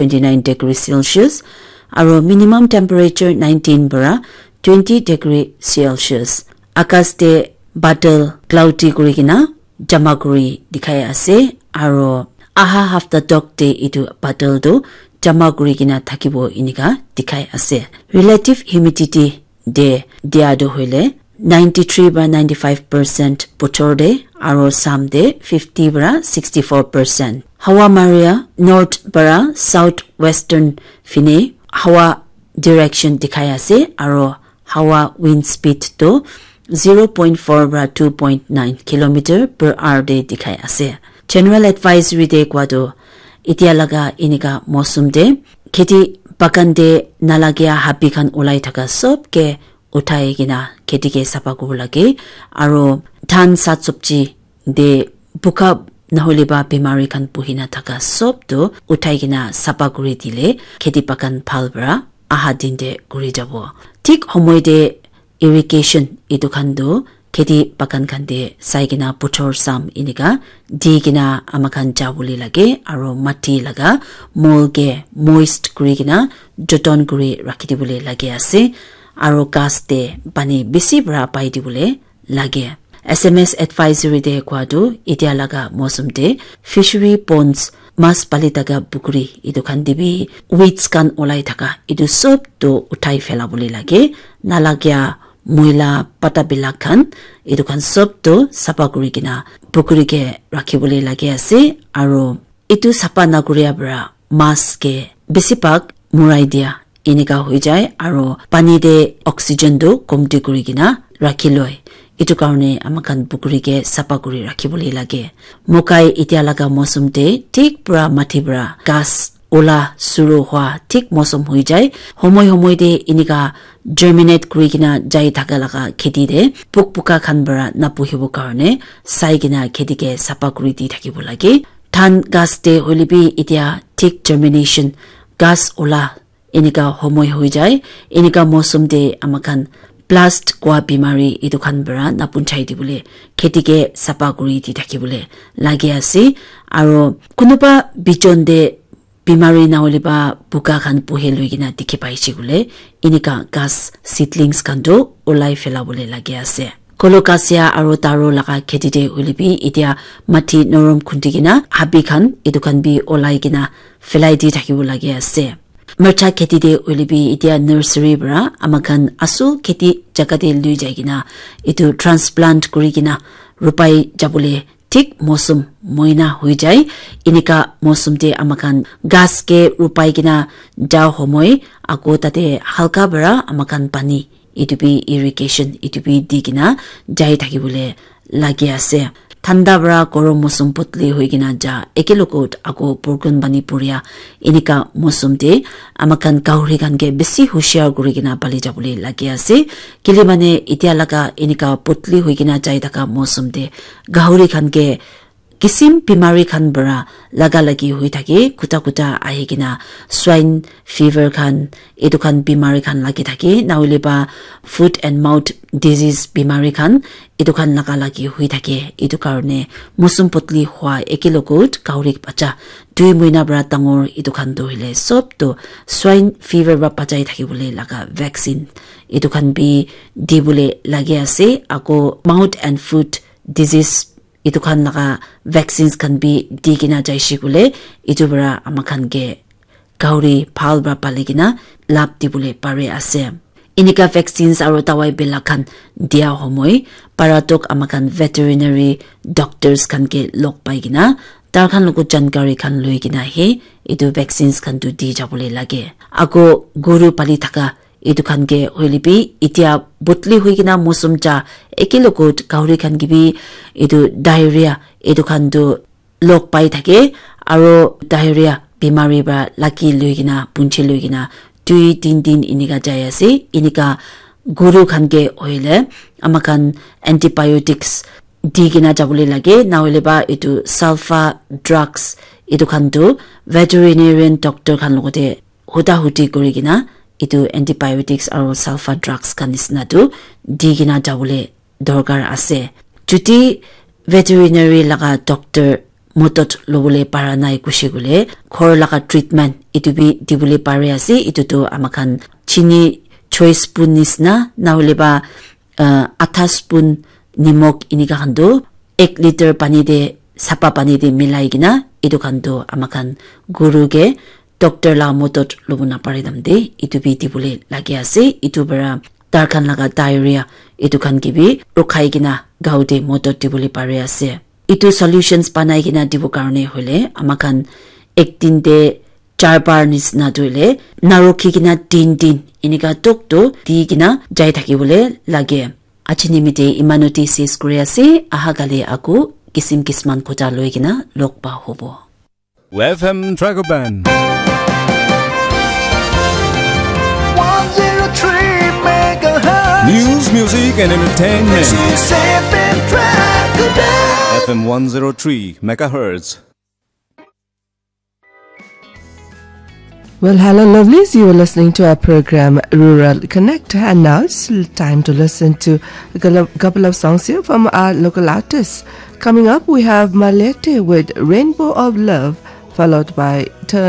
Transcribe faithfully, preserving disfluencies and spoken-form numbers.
twenty nine degree Celsius, aro minimum temperature nineteen para twenty degree Celsius. Akas te badal cloudy kuri kena jama kuri dikhai ase, aro aha hafta tok te etu badal tu jama kuri kena thakibo enika dikhai ase. Relative humidity de dia tu hoile ninety three para ninety five percent bochor de, aro sam de fifty para sixty four percent. Hawa maria north para south western fine hawa direction dikhai ase, aro hawa wind speed tu zero point four para two point nine kilometer per hour de dikhai ase. General advisory de kwa tu etia laga enika mosum de kheti bagan de nalagia habi khan ulai thaka sob ke uthai kena kheti ke sapa kuribo lage, aro dhan sat sabji de buka nahole ba bimari khan buhi na thaka sob tu uthai kena sapa kuri dile kheti bagan bhal para aha din de kuri jabo. Thik homoi de irrigation etu khan tu kheti bagan khan de sai kena puthor sam enika di kena ama khan ja bole lage, aro mati laga mol ke moist kuri kena joton kuri rakhi dibole lage ase, aro ghas te pani bisi para pai dibole lage. S M S advisory de kwa tu etia laga mosum de fishery ponds, mas pali thaka pukuri etu khan de bi weeds khan ulai thaka etu sob tu uthai phela bole lage, nalagia moila pata bilak khan etu khan sob tu sapa kuri kena pukuri ke rakhi bole lage ase, aro etu sapa nakuria para mas ke bisi bhag murai dia enika hoi jai, aro pani de oxygen tu komti kuri kena rakhi loi. Etu karne ama khan pukuri ke sapa kuri rakhi bole lage. Mokai etia laga mosum de thik pura mati pura ghas ola suru hua thik mosum hoi jai. Homoi homoi de enika germinate kuri kena jai thaka laga kheti de puk puka khan para napuhibo karne sai kena kheti ke sapa kuri di thakibo lage. Dhan ghas de hoile bi etia thik germination ghas ola enika homoi hoi jai. Enika mosum de ama khan blast kua bimari etu khan para napunchai dibole kheti ke sapa kuri di thakibole lage ase. Aro kunuba bijon de bimari nahole ba buka khan puhe loi kena dikhi paise koile enika ghas seedlings khan tu ulai phela bole lage ase. Colocasia aro taro laga kheti de hoile bi etia mati norom khundi kena habi khan etu khan bi ulai kena phelai di thakibo lage ase. Mircha kheti de hoile bi etia nursery para ama khan asul kheti jaga de lui jai kena etu transplant kuri kena rupai jabole thik mosum moina hoi jai. Enika mosum de ama khan ghas ke rupai kena ja homoi ako tate halka para ama khan pani etu bi irrigation etu bi di kena jai thakibole lage ase. Thanda para gorom mosum potli hoi kena ja eke logot ako purkun pani puria enika mosum de ama khan gahuri khan ke bisi hushiar kuri kena pali jabole lage ase. Kile mane etia laga enika potli hoi kena jai thaka mosum de gahuri khan ke kisim bimari khan para laga lagi hoi thake, kuta kuta ahi kena swine fever khan, etu khan bimari khan lagi thake, nahole ba foot and mouth disease bimari khan, etu khan laga lagi hoi thake. Etu karne mosum potli hua eke logot gahuri bacha dui moina para dangor etu khan tu hoile sob tu swine fever para bachai thakibole laga vaccine etu khan bi dibole lage ase. Ako mouth and foot disease etu khan laga vaccines khan bi di kena jaise koile etu para ama khan ke gahuri bhal para pali kena lab dibole pare ase. Enika vaccines aro dawai belak khan dia homoi para tok ama khan veterinary doctors khan ke log pai kena tar khan logot jankari khan loi kena he etu vaccines khan tu di jabole lage. Ako guru pali thaka etu khan ke hoile bi etia botli hoi kena mosum ja eke logot gahuri khan ke bi etu diarrhea etu khan tu log pai thake, aro diarrhea bimari para lagi loi kena punche loi kena dui tin din enika jai ase. Enika guru khan ke hoile ama khan antibiotics di kena jabole lage, nahole ba etu sulfa drugs etu khan tu veterinarian doctor khan logote huda hudi kuri kena etu antibiotics aro sulfa drugs khan nisna tu di kena jabole dorkar ase. Jodi veterinary laga doctor modot lobole para nai kushi kule, ghor laga treatment itu bi dibole pare ase. Itu tu amakhan chini choice spoon nisna, na hole ba, uh, atha spoon nimok inika khan tu ek liter pani te, sapa pani te milai kena, itu khan tu amakhan guru ke doctor la modot lobo napare dam de, itu bi dibole lage ase. Itu para tar khan laga diarrhea, itu khan ke bi rukhai kena gao te modot dibole pare ase. Itu solutions banai kena dibo karne hoile, amakhan ek din te char bar nisna tu hoile, narukhi kena tin tin inika tok to di kena jai thaki bole lage. Aji nimite imanu te ses kuri ase, aha kali aku kisim kisman kota loi kena log pa hobo. F M Dragon Band. One zero three megahertz. News, music, and entertainment. This is F M Dragon Band. F M one zero three megahertz. Well, hello, lovelies. You are listening to our program Rural Connect, and now it's time to listen to a couple of, couple of songs here from our local artists. Coming up, we have Malete with Rainbow of Love, followed by Turn